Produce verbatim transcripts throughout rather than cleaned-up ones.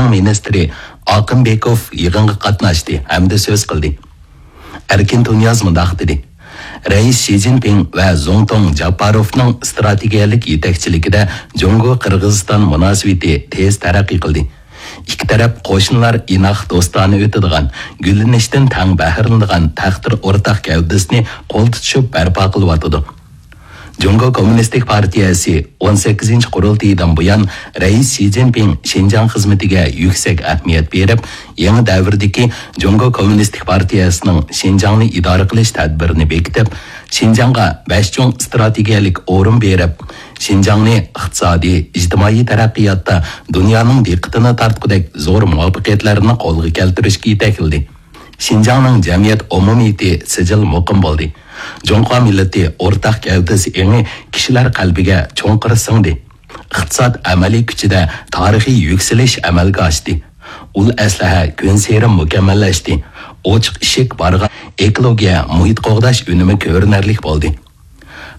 مىنىستىرى ئاقىنبېكوف يىغىنغا قاتناشتى ھەمدە سۆز قىلدى. ئەركىن تۇنىياز مۇنداق دېدى: رەئىس شى جىنپىڭ ۋە زۇڭتۇڭ جاپپاروفنىڭ ئىستراتېگىيەلىك يېتەكچىلىكىدە جۇڭگو قىرغىزىستان مۇناسىۋىتى تېز تەرەققىي قىلدى. ئىككى تەرەپ قوشنىلار ئىناق، دوستانە ئۆتىدىغان، گۈللىنىشتىن تەڭ بەھرىلىنىدىغان تەقدىر ئورتاق گەۋدىسىنى قول تۇتۇشۇپ بەرپا قىلىۋاتىدۇ. جۇڭگو كوممۇنىستىك پارتىيەسى ئون سەككىزىنچى قۇرۇلتىيىدىن بۇيان رەئىس شى جىنپىڭ شىنجاڭ خىزمىتىگە يۈكسەك ئەھمىيەت بېرىپ، يېڭى دەۋردىكى جۇڭگو كوممۇنىستىك پارتىيەسىنىڭ شىنجاڭنى ئىدارە قىلىش تەدبىرىنى بېكىتىپ، شىنجاڭغا بەش چوڭ ئىستراتېگىيەلىك ئورۇن بېرىپ، شىنجاڭنى ئىقتىسادىي، ئىجتىمائىي تەرەققىياتتا دۇنيانىڭ دىققىتىنى تارتقۇدەك زور مۇۋەپپەقىيەتلەرنى قولغا كەلتۈرۈشكە يېتەكلىدى. شىنجاڭنىڭ جەمئىيەت ئومۇمىيىتى سىجىل مۇقىم بولدى. جۇڭخۇا مىللىتى ئورتاق گەۋدىسى ئېڭى كىشىلەر قەلبىگە چوڭقۇر سىڭدى. ئىقتىساد ئەمەلىي كۈچىدە تارىخىي يۈكسىلىش ئەمەلگە ئاشتى. ئۇل ئەسلىھە كۈنسېرى مۇكەممەللەشتى. ئوچۇق ئىشىك بارغان ئېكولوگىيە، مۇھىت قوغداش ئۈنۈمى كۆرۈنەرلىك بولدى.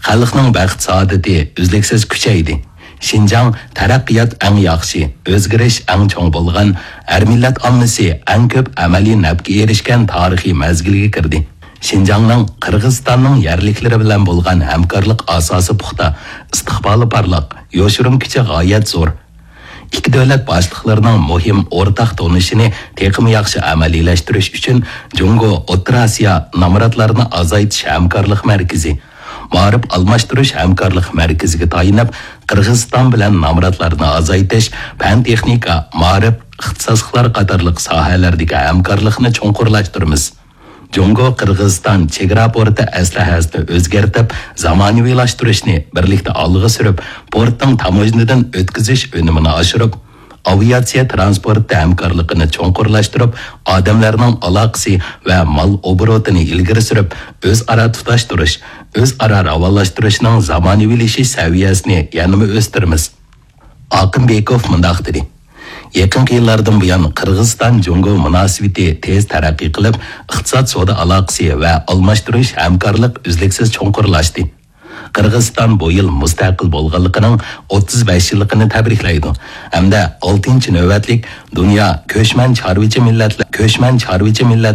خەلقنىڭ بەخت-سائادىتى ئۈزلۈكسىز كۈچەيدى. شىنجاڭ تەرەققىيات ئەڭ ياخشى، ئۆزگىرىش ئەڭ چوڭ بولغان، ھەر مىللەت ئاممىسى ئەڭ كۆپ ئەمەلىي نەپكە ئېرىشكەن تارىخىي مەزگىلگە كىردى. شىنجاڭنىڭ قىرغىزىستاننىڭ يەرلىكلىرى بىلەن بولغان ھەمكارلىق ئاساسى پۇختا، ئىستىقبالى پارلاق، يوشۇرۇن كۈچى غايەت زور. ئىككى دۆلەت باشلىقلىرىنىڭ مۇھىم ئورتاق تونۇشىنى تېخىمۇ ياخشى ئەمەلىيلەشتۈرۈش ئۈچۈن جۇڭگو ئوتتۇرا ئاسىيا نامراتلارنى ئازايتىش ھەمكارلىق مەركىزى، مائارىپ ئالماشتۇرۇش ھەمكارلىق مەركىزىگە تايىنىپ، قىرغىزىستان بىلەن نامراتلارنى ئازايتىش، پەن-تېخنىكا، مائارىپ، ئىختىساسلىقلار قاتارلىق ساھەلەردىكى ھەمكارلىقنى چوڭقۇرلاشتۇرىمىز. جۇڭگو قىرغىزىستان چېگرا پورتى ئەسلىھەسىنى ئۆزگەرتىپ، زامانىۋىلاشتۇرۇشنى بىرلىكتە ئالغا سۈرۈپ، پورتنىڭ تاموژنىدىن ئۆتكۈزۈش ئۈنۈمىنى ئاشۇرۇپ، ئاۋىئاتسىيە تىرانسپورتى ھەمكارلىقىنى چوڭقۇرلاشتۇرۇپ، ئادەملەرنىڭ ئالاقىسى ۋە مال ئوبوروتىنى ئىلگىرى سۈرۈپ، ئۆزئارا تۇتاشتۇرۇش، ئۆزئارا راۋانلاشتۇرۇشنىڭ زامانىۋىلىشىش سەۋىيەسىنى يەنىمۇ ئۆستۈرىمىز. ئاقىنبېكوف مۇنداق دېدى: يېقىنقى يىللاردىن بۇيان قىرغىزىستان جۇڭگو مۇناسىۋىتى تېز تەرەققىي قىلىپ، ئىقتىساد، سودا ئالاقىسى ۋە ئالماشتۇرۇش ھەمكارلىق ئۈزلۈكسىز چوڭقۇرلاشتى. قىرغىزىستان بۇ يىل مۇستەقىل بولغانلىقىنىڭ ئوتتۇز بەش يىللىقىنى تەبرىكلەيدۇ ھەمدە ئالتىنچى نۆۋەتلىك دۇنيا كۆچمەن چارۋىچى مىللەتلەر، كۆچمەن چارۋىچى مىللەتلەر